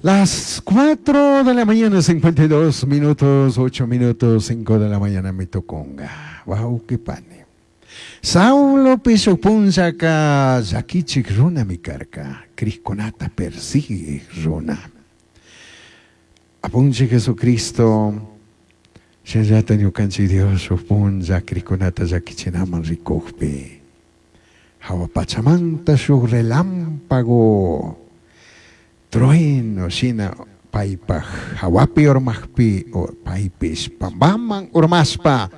Las 4 de la mañana, 52 minutos, 8 minutos, 5 de la mañana mi tucunga. Wauqui pani. Saulopish shuj punllaca llaquichij runami carca, crijcunata persiguij runa. Apunchij Jesucristo, shinallata ñucanchij Dios shuj punlla crijcunata llaquichinaman ricujpi, jahua pachamanta shuj relámpago trueno shina paipaj jahuapi urmajpi, paipish pambaman urmashpa,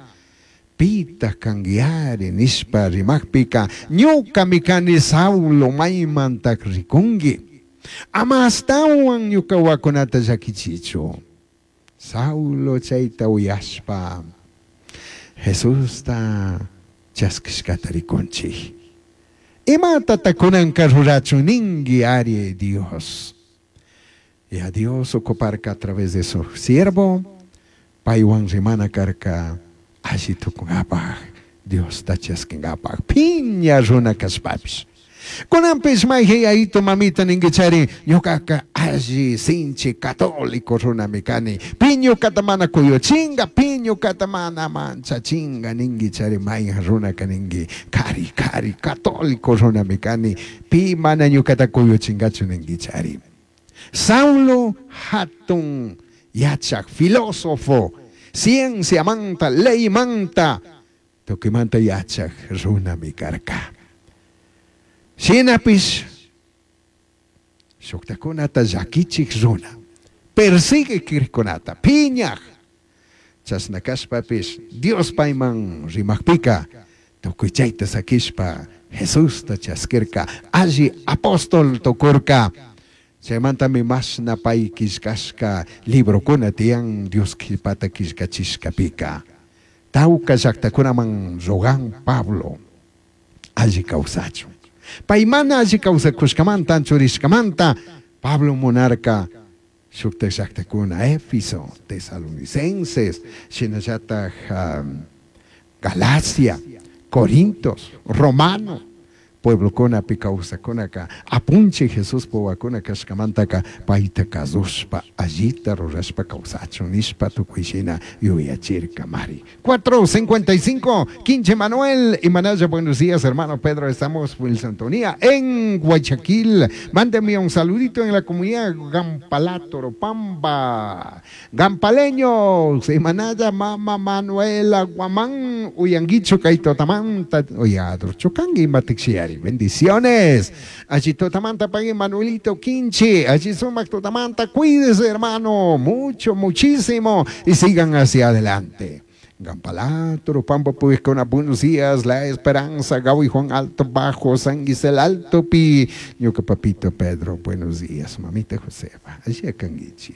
Pitaj canguiari? nishpa rimajpica, Ñucami cani Saulo, maimantaj ricungui? Ama ashtahuan ñuca huacunata llaquichichu. Saulo chaita uyashpa, Jesusta chasquishcata ricunchij. Imatata cunanca rurachun ningui ari, Dios? Ya Dios ocuparca a través de su siervo, paihuan rimana carca alli tucungapaj, Diosta chasquingapaj, piña runa cashpapish. Cunanpish maijan yayito mamita ninguichari, ñucaca alli sinchi católico runami cani, pi ñucata mana cuyuchinga, pi ñucata mana manchachinga ninguichari maijan runaca ningui, cari cari católico runami cani, pi mana ñucata cuyuchingachu ninguichari. Saulo jatun yachaj filósofo, cienciamanta, leymanta, tucuimanta yachaj runami carca. Shinapish shujtajcunata llaquichij runa, persiguij crijcunata, piñaj. Chashna cashpapish Dios paiman rimajpica tucui chaita saquishpa Jesusta chasquirca, alli apóstol tucurca. Chaimantami mashna pai quillcashca librocuna tiyan Dios quillpata quillcachishcapica. Tauca llajtacunaman rogan Pablo alli causachun. Pai mana alli causacushcamanta, anchurishcamanta Pablo munarca shujtaj llajtacuna Éfeso, Tesalonicenses, shinallataj Galacia, Corintos, Romano pueblocunapi causajcunaca Apunchij Jesuspaj huahuacuna cashcamantaca paita cazushpa allita rurashpa causachun nishpa tucui shina yuyachircamari. 4:55, Quinche Manuel y Manaya, buenos días hermano Pedro, estamos en sintonía en Guayaquil. Mándeme un saludito en la comunidad Gampalato, Pamba, Gampaleños, y Manaya, Mama Manuela, Guamán, Uyanguicho, Kaitotamanta, Oyadro, Chocangui, Matixiari, bendiciones. Allí Totamanta, Pague Manuelito Quinche, allí Sumac Totamanta, cuídese hermano, mucho, muchísimo, y sigan hacia adelante. Gampalato, Pampa Puigcona, buenos días, La Esperanza, Gaui Juan Alto Bajo, San Gisel Alto Pi, ñuca papito Pedro, buenos días, mamita Josefa, allí canguichi.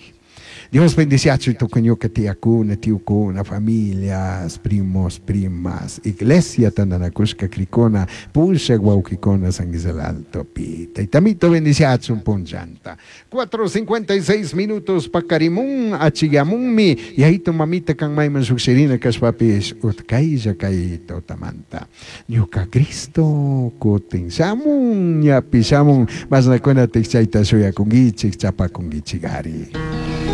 Dios bendiciachu tucui ñuca tiyacuna, tiyucuna, familias, primos, primas, iglesia tandanacushca cricuna, pushaj huauquicuna San Gisel Alto Pi. Taitamito bendiciachun punllanta. 4:56 minutos pacarimun, achiyamunmi, yayito mamita can mayman llujshirina cashpapish utcaylla cay tutamanta. Ñuca Cristo cutin shamun, ñapi shamun, mashnacuna chayta shuyacunguichij, chapacunguichigari.